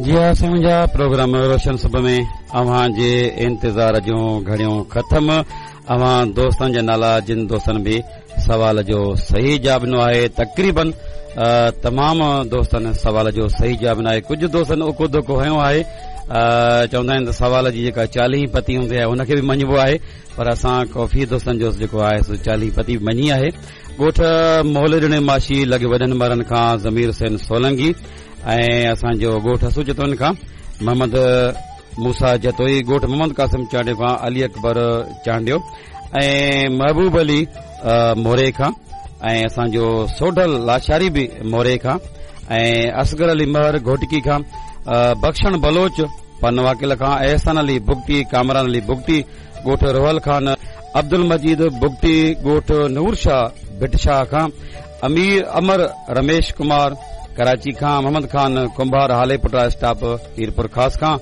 جي ها سائين منهنجا پروگرام روشن صبح ۾ اوهان جي انتظار جون گهڙيون ختم اوهان دوستن جا نالا جن دوستن به سوال جو صحيح جواب ڏنو آهي تقريبن تمام دوستن سوال جو صحيح جواب ڏنو آهي ڪجهه دوستن اڪو ڌڪو هنيو آهي چوندا آهن ته سوال جي جيڪا چاليهين پتي هوندي آهي ان کي به مڃبو آهي پر اسان ڪافي دوستن جو جيڪو آهي سو چاليهين پتي به مڃي آهي ڳوٺ موليڏني ماشي لڳ وڏن مرن کان ضمير حسين سولنگي ۽ اسان جو ڳوٺ حسو جتوئين کان محمد موسيٰ جتوئي ڳوٺ محمد قاسم چانڊيو کان علي اڪبر چانڊيو ۽ محبوب علي موري کان ۽ اسان جو سوڍل لاشاري به موري کان ۽ اصغر علي مهر گهوٽڪي کان بخشڻ بلوچ پنواڪل کان احسان علي بگٽي ڪامران علي بگٽي ڳوٺ روحل خان عبدالمجيد بگٽي ڳوٺ نور شاهه ڀٽ شاهه کان امير امر رميش ڪمار ڪراچي کان محمد خان ڪنڀار هالي پٽا اسٽاپ ميرپور خاص کان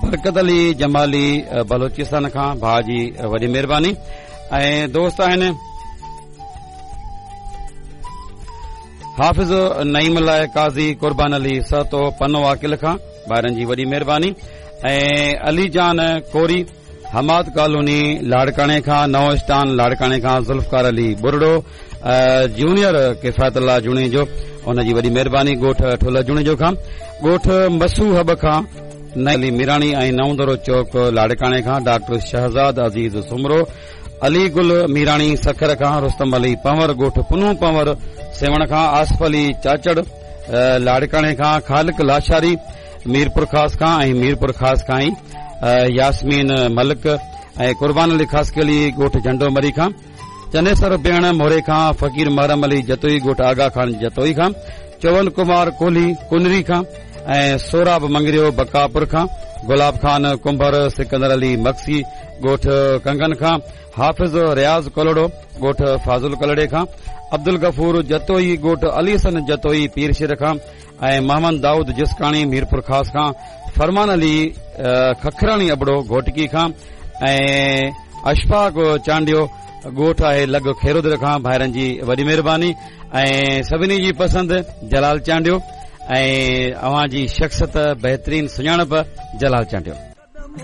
برڪت علي جمالي بلوچستان کان ڀاء جي وڏي مهرباني ۽ دوست آهن حافظ نعيم الله قاضي قربان علي سهتو پنو عاقل کان ڀائرن جي وڏي مهرباني ۽ علي جان ڪوري حماد ڪالوني لاڙڪاڻي کان نئون اسٽان لاڙڪاڻي کان ذوالفقار علي ٻرڙو جونيئر ڪفايت الله جوڻيجو ان جي وڏي مهرباني ڳوٺ ٺلهه جوڻيجو کان ڳوٺ مسو حب کان علي ميراڻي ۽ نئون درو چوڪ لاڙڪاڻي کان ڊاڪٽر شهزاد عزيز سومرو علي گل ميراڻي سکر کان رستم علي پنور ڳوٺ پنهون پنور سيوهڻ کان آصف علي چاچڙ لاڙڪاڻي کان خالق لاشاري ميرپورخاص کان ۽ ميرپورخاص کان ئي ياسمين ملڪ ۽ قربان علي خاصخيلي ڳوٺ جهنڊو مري کان چنيسر بيڻ موري کان فقير محرم علي جتوئي ڳوٺ آغا خان جتوئي کان چون ڪمار ڪولهي ڪنري کان ۽ سهراب مڱريو بقاپور کان گلاب خان ڪنڀر سڪندر علي مگسي ڳوٺ ڪنگن کان حافظ رياض ڪلهوڙو ڳوٺ فاضل ڪلهوڙي کان عبدالغفور جتوئي ڳوٺ علي حسن جتوئي پير شير کان ۽ محمد دائود جسڪاڻي ميرپورخاص کان، فرمان علي ککراڻي ابڙو گهوٽڪي کان ۽ اشفاق چانڊيو ڳوٺ آهي لڳ کيرودر کان ڀائرن جي وڏي مهرباني ۽ سڀني جي پسند جلال چانڊيو ۽ اوهان جي شخصيت بهترين سڃاڻپ جلال چانڊيو.